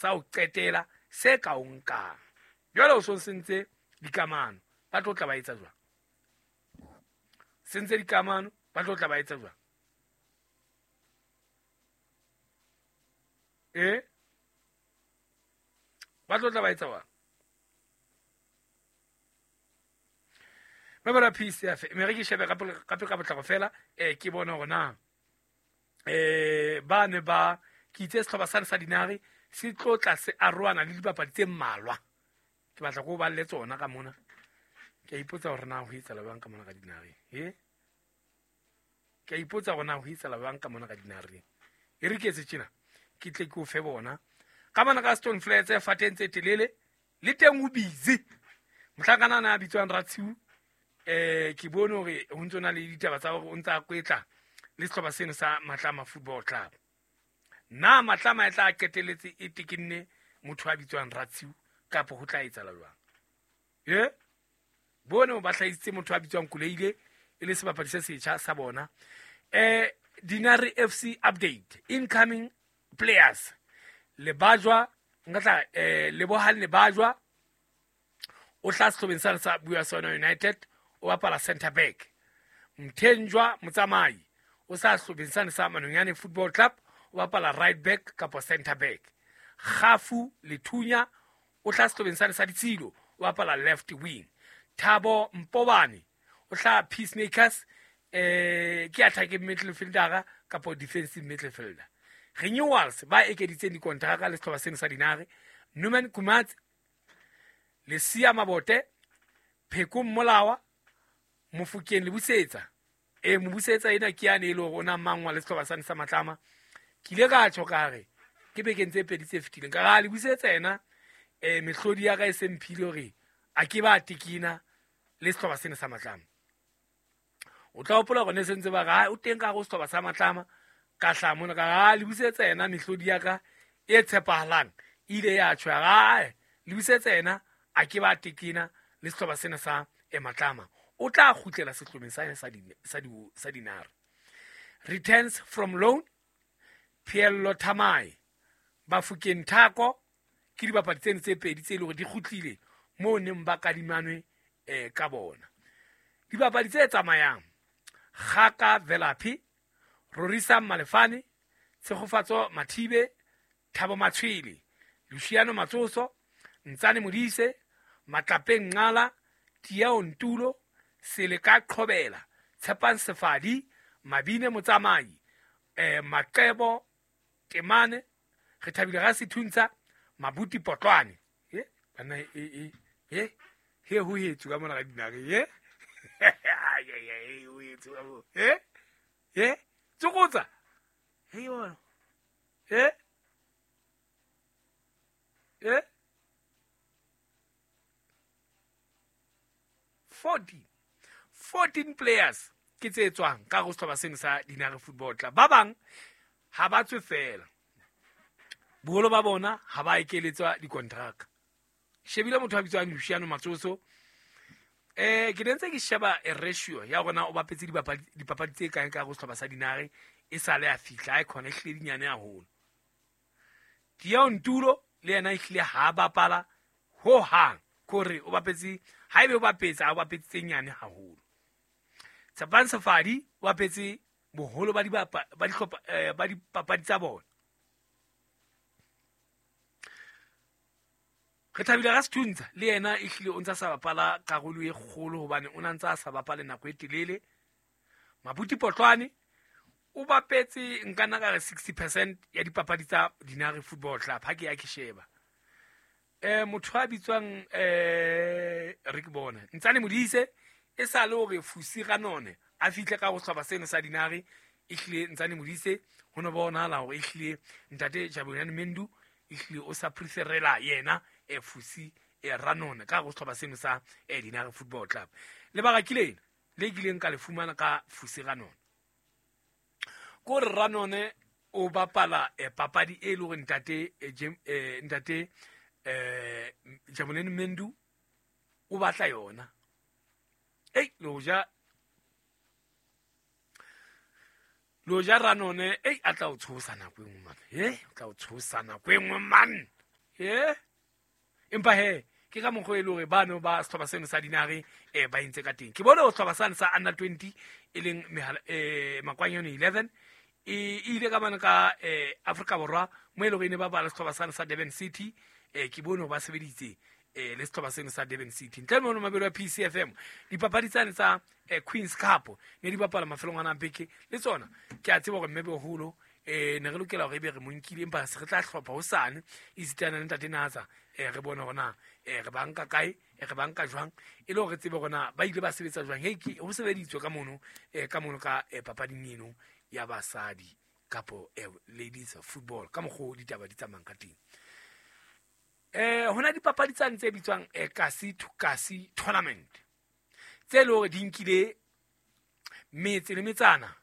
Sa ho qetela se ka o nkang. Jwale o so sentse dikamano, ba tlo tla ba etsa jwang? Sentse dikamano, ba tlo tla ba etsa jwang? E? Ba tlo tla ba etsa jwang? Ba peace ya fe me re ke shebe gape ka potlako fela, ke bone gore na ba ne ba ke itse setlhopha sane sa Dinare se tlo tla se aroana le dipapadi tse mmalwa. Ke batla ko ba le tsona ka mona, ke a ipotsa gore na ho etsala bang ka mona ka Dinare. E ke a ipotsa gore na ho etsala bang ka mona ka Dinare. E re ke etse tjena, ke tle ke o fe bona ka mona ka Stone Flats fateng tse telele le teng o busy. Mohlankana a bitswang Ratshiu, ke bone hore ho ntso na le ditaba tsa hore o ntsa a kwetla le sehlopha seno sa Matlama Football Club. Na Matlama e tla qetelletse e tekenne motho a bitswang Ratshiu kapa ho tla etsahala jwang? E bone ba hlahisitse motho a bitswang Kuleile e le sebapadi se setjha sa bona. Dinare FC update, incoming players. Lebajwa nka tla Lebohang Lebajwa o tla sehlobeng sa sa Buasana United, o bapala center back. Mthenjwa Motsamai o sa sehlobeng sane sa Manonyane Football Club, o bapala right back kapa center back. Kgafu Lethunya o tla sehlobeng sane sa Ditshilo, o bapala left wing. Thabo Mpobane o tla Peacemakers, ke attacking midfielder kapa defensive midfielder. Renewals ba ekeditseng dikontraka le sehlopha seno sa Dinare, Numan Kumatsi, Lesia Mabote, Pheko Mmolawa, Mofokeng Lebusetsa. Mobusetsa ena ke yane e le hore o na mangwa le sehlopha sane sa Matlama. Ke ile ka tjho ka re ke bekeng tse pedi tse fetileng ka ra Lebusetsa ena, mehlodi ya ka e se mphile hore a ke ba tekena le sehlopha sena sa Matlama. O tla hopola hore ne se ntse ba re o teng ka go sehlopha sa Matlama, ka hlaha mona ka ra Lebusetsa ena mehlodi ya ka e tshepahalang e ile ya tjho ya ra Lebusetsa ena a ke ba tekena le sehlopha sena sa Matlama. O tla kgutlela sehlopheng sa Dinare. Returns from loan, Phiello Thamae, Bafokeng Thako, ke dibapadi tseno tse pedi tse leng hore di kgutlile moo neng ba kadimanwe ka bona. Dibapadi tse tsamayang, Kgaka Velaphi, Rorisang Malefane, Tshegofatso Mathibe, Thabo Matshwele, Luciano Matsoso, Ntsane Modise, Matlapeng Nqala, Tieo Ntulo, Seleka Qhobela, Tshepang Sefadi, Mabine Motsamai, Maqebo Temane, Re Thabile ga Sethuntsha, Mabuti Potlwane. Banna e he ho hetswe ka mona ka Dinare. E ho hetswe ka mo. E tsokotsa. He yona. E e 14 players ke tse tswang ka go sehlopha seno sa Dinare Football Club. Ba bang ha ba tswe fela, boholo ba bona ha ba ekeletswa dikontraka. Shebile motho a bitswang Luciano Matsoso, ke ne ntse ke sheba e ratio ya rona o bapetse dipapadi tse kae ka go sehlopha sa Dinare e sale a fihla, a khona e hlile dinyane haholo. Tieo Ntulo le yena e hlile ha bapala ho hang, kore o bapetse, haebe o bapetse a o bapetse tse nyane haholo. Tshepang Sefadi o bapetse boholo ba dihlopha ba dipapadi tsa bona. Re Thabile ga Sethuntsha le yena e hlile o ntsa sa bapala karolo e kgolo hobane o na ntsa sa bapale nako e telele. Mabuti Potlwane o bapetse nka nna ka re 60% ya dipapadi tsa Dinare Football Club ha ke ya ke sheba. Motho a bitswang re ke bona Ntsane Modise e sa le hore Fusi Ranone a fihle ka go sehlopha seno sa Dinare, e hlile Ntsane Modise ho no bonahala hore e hlile ntate Jabulani Mendu e hlile o sa preferela yena Fusi Ranone ka go sehlopha seno sa Dinare Football Club. Lebaka ke lena le kileng ka le fumana ka Fusi Ranone, ko re Ranone o bapala papadi e le hore ntate ntate Jabulani Mendu o batla yona. Ei lo ja Ranone, ei a tla o tshosa nako e nngwe man, o tla o tshosa nako e nngwe man. E empa he ke ka mokgwa e le hore bano ba sehlopha seno sa Dinare ba entse ka teng. Ke bone hore sehlopha sane sa under 20, e leng Makwanyane 11, e ile ka mane ka Afrika Borwa, mo e le hore e ne ba bala sehlopha sane sa Durban City. Ke bone hore ba sebeditse le sehlopha seno sa Durban City. Ntle le mono, mabelo a PCFM, dipapadi tsane tsa Queens Cup ne di bapala mafelong ana a beke le tsona. Ke a tseba hore mme boholo ne re lokela hore ebe re mo nkile, empa se re tla hlopha hosane esitana le ntate Natsa, re bone hore na re ba nka kae, re ba nka jwang, e le hore re tsebe hore na ba ile ba sebetsa jwang. Hei, ke ho sebeditswe ka mono, ka mono ka papading eno ya basadi kapo ladies football, ka mokgwa o ditaba di tsamayang ka teng. Hona dipapadi tsane tse bitswang kasi to kasi tournament, tse le hore di nkile metse le metsana.